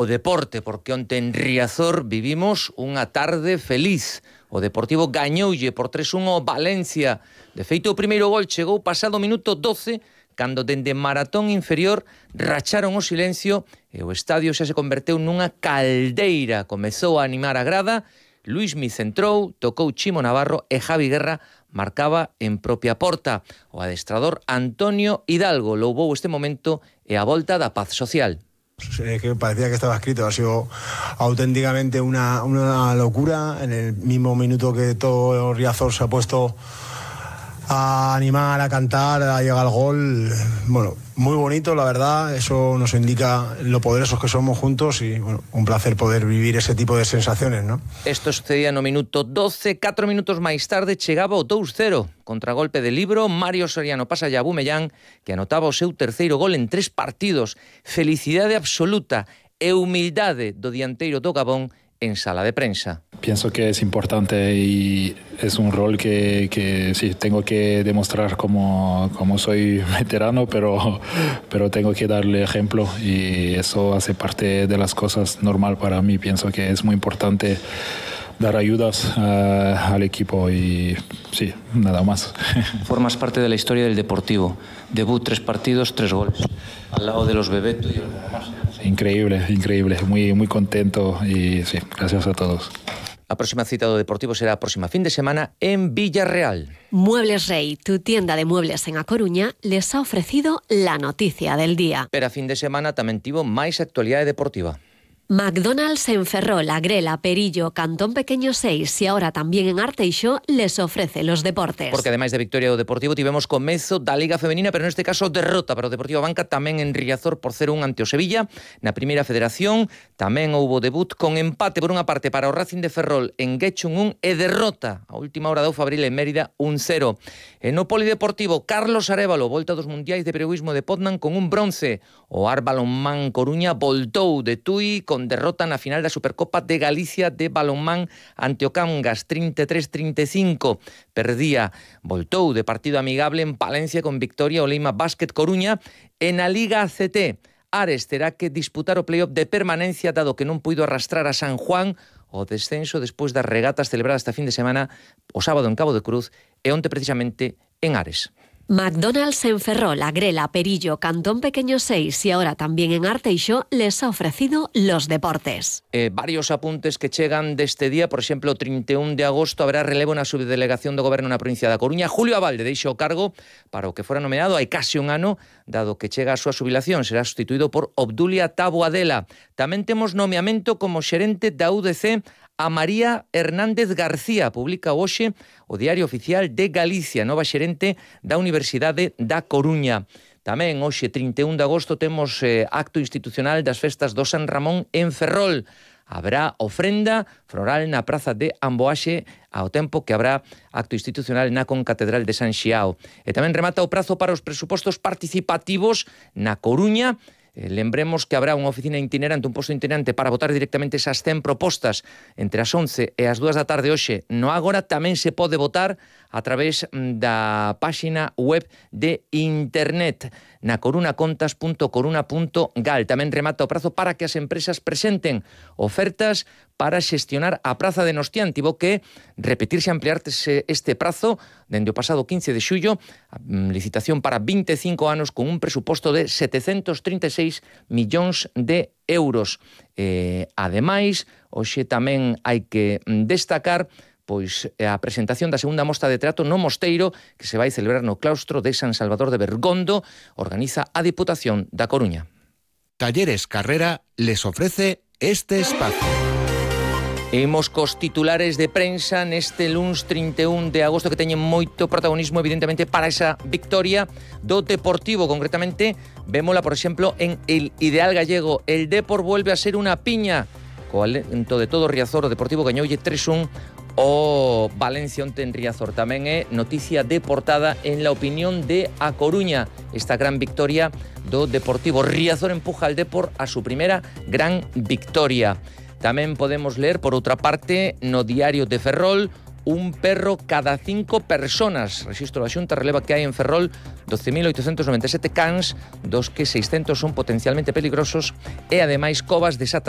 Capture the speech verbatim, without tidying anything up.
o deporte, porque onte en Riazor vivimos unha tarde feliz. O Deportivo gañoulle por tres a un ao Valencia. De feito, o primeiro gol chegou pasado o minuto doce, cando dende maratón inferior racharon o silencio e o estadio xa se converteu nunha caldeira. Comezou a animar a grada, Luismi centrou, tocou Chimo Navarro e Javi Guerra marcaba en propia porta. O adestrador Antonio Hidalgo louvou este momento e a volta da paz social. Eh, que parecía que estaba escrito, ha sido auténticamente una, una locura. En el mismo minuto que todo Riazor se ha puesto a animar, a cantar, a llegar al gol, bueno, muy bonito, la verdad. Eso nos indica lo poderosos que somos juntos y, bueno, un placer poder vivir ese tipo de sensaciones, ¿no? Esto sucedía no minuto doce, catro minutos máis tarde chegaba o dous cero. Contragolpe de Libro, Mario Soriano pasa a Bumellán, que anotaba o seu terceiro gol en tres partidos. Felicidade absoluta e humildade do dianteiro do Gabón en sala de prensa. Pienso que es importante y es un rol que, que sí, tengo que demostrar como, como soy veterano, pero, pero tengo que darle ejemplo y eso hace parte de las cosas normal para mí. Pienso que es muy importante dar ayudas uh, al equipo y sí, nada más. Formas parte de la historia del Deportivo. Debut, tres partidos, tres goles. Al lado de los Bebeto y algo más. Increíble, increíble. Muy, muy contento y sí, gracias a todos. A próxima cita do Deportivo será a próxima fin de semana en Villarreal. Muebles Rey, tu tienda de muebles en A Coruña, les ha ofrecido la noticia del día. Pero a fin de semana tamén tivo máis actualidade deportiva. McDonald's en Ferrol, Agrela, Perillo, Cantón Pequeño seis y ahora también en Arteixo les ofrece los deportes. Porque ademais de victoria do Deportivo tivemos comezo da Liga Femenina, pero neste caso derrota para o Deportivo Banca tamén en Riazor por cero a un ante o Sevilla. Na primeira federación tamén houbo debut con empate por unha parte para o Racing de Ferrol en Guechun un e derrota a última hora do Fabril en Mérida un cero. E no Polideportivo, Carlos Arévalo volta dos Mundiais de Periodismo de Poznan con un bronce. O Ar Balonmán Coruña voltou de Tui con derrota na final da Supercopa de Galicia de balonmán ante o Cangas trinta e tres a trinta e cinco. Perdía, voltou de partido amigable en Palencia con victoria o Leima Basket Coruña. E na Liga A C T, Ares terá que disputar o playoff de permanencia dado que non puido arrastrar a San Juan o descenso despois das regatas celebradas esta fin de semana o sábado en Cabo de Cruz e onte precisamente en Ares. McDonald's en Ferrol, Agrela, Perillo, Cantón Pequeño seis y ahora también en Arteixo les ha ofrecido los deportes. Eh, varios apuntes que chegan deste día. Por exemplo, o trinta e un de agosto habrá relevo na subdelegación do Goberno na provincia da Coruña. Julio Abalde deixa o cargo para o que fora nomeado hai case un ano, dado que chega a súa xubilación. Será sustituído por Obdulia Taboadela. Tamén temos nomeamento como xerente da U D C a María Hernández García. Publica hoxe o Diario Oficial de Galicia, nova xerente da Universidade da Coruña. Tamén hoxe, trinta e un de agosto, temos eh, acto institucional das festas do San Ramón en Ferrol. Habrá ofrenda floral na praza de Amboaxe ao tempo que habrá acto institucional na Concatedral de San Xiao. E tamén remata o prazo para os presupostos participativos na Coruña. Eh, lembremos que habrá unha oficina itinerante, un posto itinerante para votar directamente esas cen propostas entre as once e as dúas da tarde hoxe no Ágora. Tamén se pode votar a través da páxina web de internet na corunacontas punto coruna punto gal. Tamén remata o prazo para que as empresas presenten ofertas para xestionar a praza de Nostián. Tivo que repetirse, ampliarse este prazo dende o pasado quince de xullo, licitación para vinte e cinco anos con un presuposto de setecentos trinta e seis millóns de euros. Eh, ademais, hoxe tamén hai que destacar pois a presentación da segunda mostra de teatro no Mosteiro, que se vai celebrar no claustro de San Salvador de Bergondo, organiza a Diputación da Coruña. Talleres Carrera les ofrece este espacio. Imos cos titulares de prensa neste luns trinta e un de agosto, que teñen moito protagonismo evidentemente para esa victoria do Deportivo. Concretamente, vémola, por exemplo, en el Ideal Gallego. El Depor vuelve a ser unha piña. Co alento de todo Riazor, o Deportivo gañoulle tres a un o Valencia onte en Riazor. Tamén é noticia de portada en La Opinión de A Coruña, esta gran victoria do Deportivo. Riazor empuja al Depor a su primeira gran victoria. Tamén podemos ler, por outra parte, no Diario de Ferrol, un perro cada cinco personas. Rexistro da Xunta releva que hai en Ferrol doce mil oitocentos noventa e sete cans, dos que seiscentos son potencialmente peligrosos, e ademais covas desatas